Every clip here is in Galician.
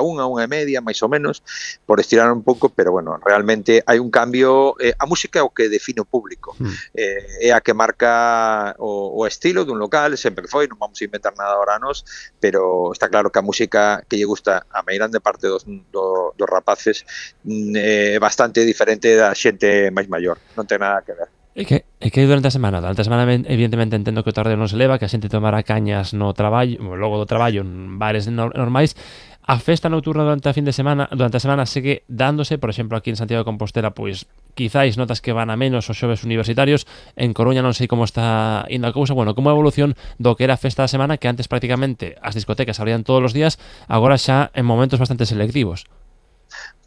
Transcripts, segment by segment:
unha e media, máis ou menos, por estirar un pouco, pero bueno, realmente hai un cambio, a música é o que define o público, é a que marca o estilo dun local, sempre que foi, non vamos a inventar nada ahora nós, pero está claro que a música que lle gusta a meirande parte dos rapaces é bastante diferente da xente máis maior, non ten nada que ver. E que durante a semana evidentemente entendo que o tardeo non se leva, que a xente tomará cañas no traballo, logo do traballo en bares normais. A festa nocturna durante a semana segue dándose, por exemplo, aquí en Santiago de Compostela, pois quizáis notas que van a menos os xoves universitarios. En Coruña non sei como está indo a cousa. Bueno, como a evolución do que era a festa da semana, que antes prácticamente as discotecas abrían todos os días, agora xa en momentos bastante selectivos.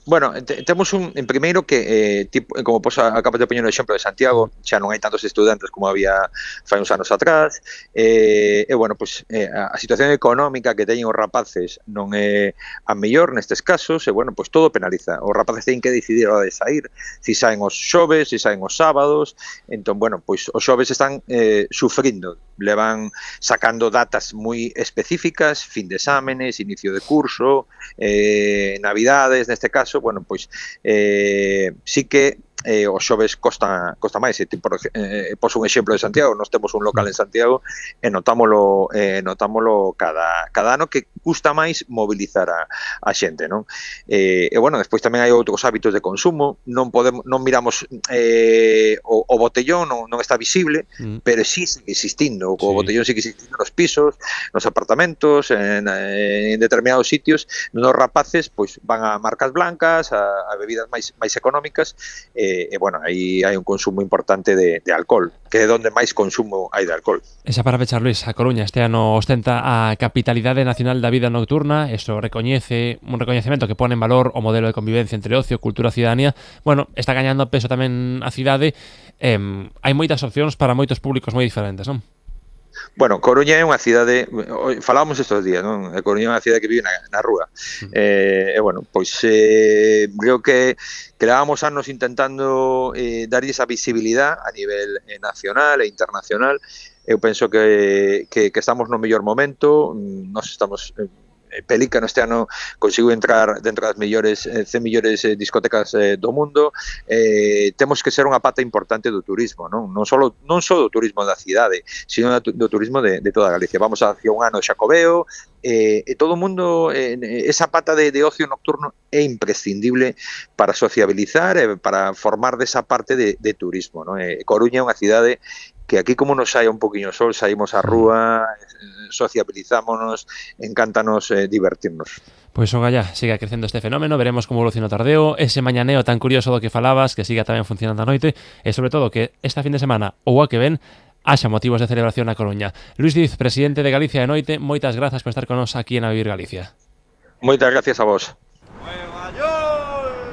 Bueno, temos en primeiro que, tipo, como acabas de poñer o exemplo de Santiago, xa non hai tantos estudantes como había fai uns anos atrás, bueno, pues, a situación económica que teñen os rapaces non é a mellor nestes casos, e bueno, pues todo penaliza. Os rapaces teñen que decidir a hora de sair, si saen os xoves, si saen os sábados, entón, bueno, pues os xoves están sufrindo, levan sacando datas moi específicas, fin de exámenes, inicio de curso, navidades, neste caso, bueno, pois sí que os xoves costa máis. Pos un exemplo de Santiago, nós temos un local en Santiago e notámolo cada ano que custa máis mobilizar a xente, non? E bueno, despois tamén hai outros hábitos de consumo, non miramos o botellón, non está visible, pero sí sigue existindo, o botellón sigue existindo nos pisos, nos apartamentos, en determinados sitios. Nos rapaces pois van a marcas blancas, a bebidas máis económicas, bueno, aí hai un consumo importante de alcohol, que é onde máis consumo hai de alcohol. Esa para pechar, Luis, a Coruña este ano ostenta a Capitalidade Nacional da Vida Nocturna. Eso recoñece un recoñecemento que pone en valor o modelo de convivencia entre ocio, cultura e cidadanía. Bueno, está gañando peso tamén a cidade. Hai moitas opcións para moitos públicos moi diferentes, non? Bueno, Coruña é unha cidade, falábamos estes días, non? Coruña é unha cidade que vive na rúa. Bueno, pois creo que levamos anos intentando darlle esa visibilidade a nivel nacional e internacional. Eu penso que estamos no mellor momento. Nós estamos Pelica este ano conseguiu entrar dentro das 100 mellores discotecas do mundo. Temos que ser unha pata importante do turismo, non só do turismo da cidade, sino do turismo de toda Galicia. Vamos hacia un ano de Xacobeo, e todo o mundo, esa pata de ocio nocturno é imprescindible para sociabilizar e para formar desa parte de turismo, non? Coruña é unha cidade que aquí, como nos saia un poquinho sol, saímos á rúa, sociabilizámonos, encántanos divertirnos. Pois ogallá, siga crecendo este fenómeno, veremos como evoluciona o tardeo, ese mañaneo tan curioso do que falabas, que siga tamén funcionando a noite, e sobre todo que esta fin de semana ou a que ven haxa motivos de celebración na Coruña. Luis Diz, presidente de Galicia de Noite, moitas grazas por estar con nos aquí en A Vivir Galicia. Moitas gracias a vos.